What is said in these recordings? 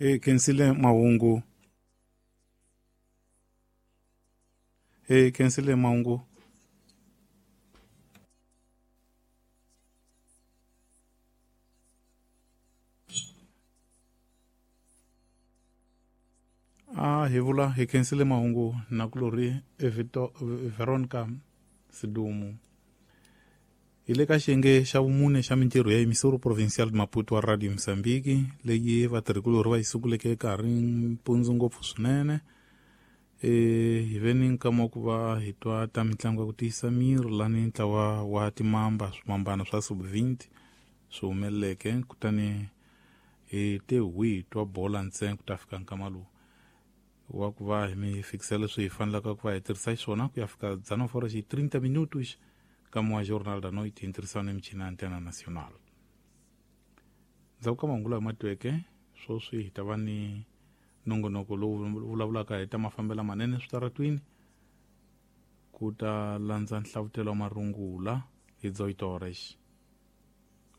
Hi khensile mahungu. Hi khensile mahungu. A hi vula hi khensile mahungu nakulorhi Veronica Sidumu. Hi le ka xiyenge xa vumune xa mintirho ya Emissora Provincial de Maputo wa Radio Mozambique leyi vatirhikulorhi va yi sunguleke ka ha ri mpundzu ngopfu swinene. Hi ve ni nkama wa ku va hi twa ta mitlangu ya ku tiyisa miri lani ntlawa wa timamba swimambana swa sub-20 swi humeleleke, kutani hi te hwi twa bola ntsena ku ta fika nkama lowu wa ku va hi mi fikisa leswi hi fanelaka ku va hi tirhisa xiswona ku ya fika 19:30 minutos ka wa Jornal da Noite hi ntirhisano ni michini ya Antena Nacional. Ndzhaku ka mahungu lawa matweke sweswi hi ta va ni nongonoko lowu vulavulaka hi ta mafambelo manene switaratwini, ku ta landza nhlavutelo wa marungula hi 18 horas.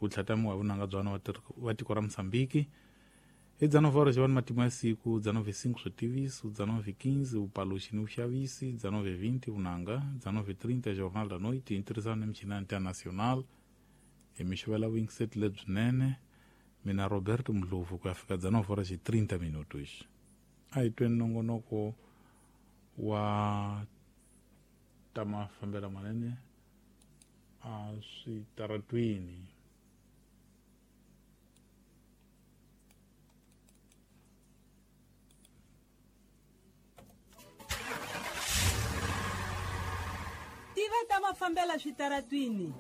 Wu tlhatamiwa hi vunanga bya wa tiko ra Mozambique. Hi 19 horas va ni matimu ya siku, 19:05 switiviso, 19:15 vupaluxi ni vuxavisi, 19:20 vunanga, 19:30 Jornal da Noite hi ntirhisano ni michini ya Antena Nacional. Hi mi xavela vuyingiseti lebyinene. Mina Roberto Mdlovu ku ya fika 19:30 minutos. A hi tweni nongonoko wa ta mafambelo manene a switaratwini. Tiva ta mafambela switaratwini.